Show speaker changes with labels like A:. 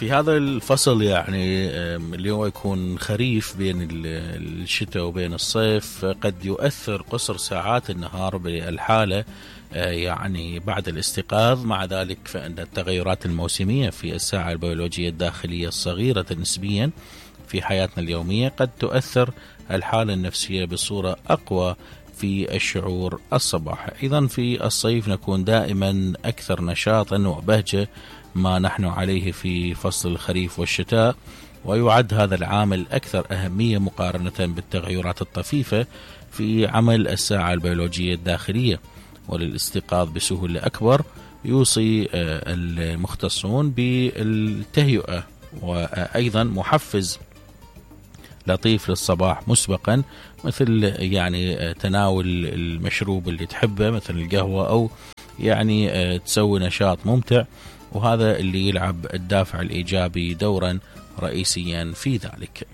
A: في هذا الفصل يعني اللي هو يكون خريف بين الشتاء وبين الصيف، قد يؤثر قصر ساعات النهار بالحالة يعني بعد الاستيقاظ. مع ذلك فإن التغيرات الموسمية في الساعة البيولوجية الداخلية الصغيرة نسبيا في حياتنا اليومية قد تؤثر الحالة النفسية بصورة أقوى في الشعور الصباحي. أيضا في الصيف نكون دائما أكثر نشاطا وبهجة ما نحن عليه في فصل الخريف والشتاء، ويعد هذا العامل أكثر أهمية مقارنة بالتغيرات الطفيفة في عمل الساعة البيولوجية الداخلية. وللاستيقاظ بسهولة أكبر يوصي المختصون بالتهيئة وأيضا محفز لطيف للصباح مسبقا، مثل يعني تناول المشروب اللي تحبه مثل القهوة، أو يعني تسوي نشاط ممتع، وهذا اللي يلعب الدافع الإيجابي دورا رئيسيا في ذلك.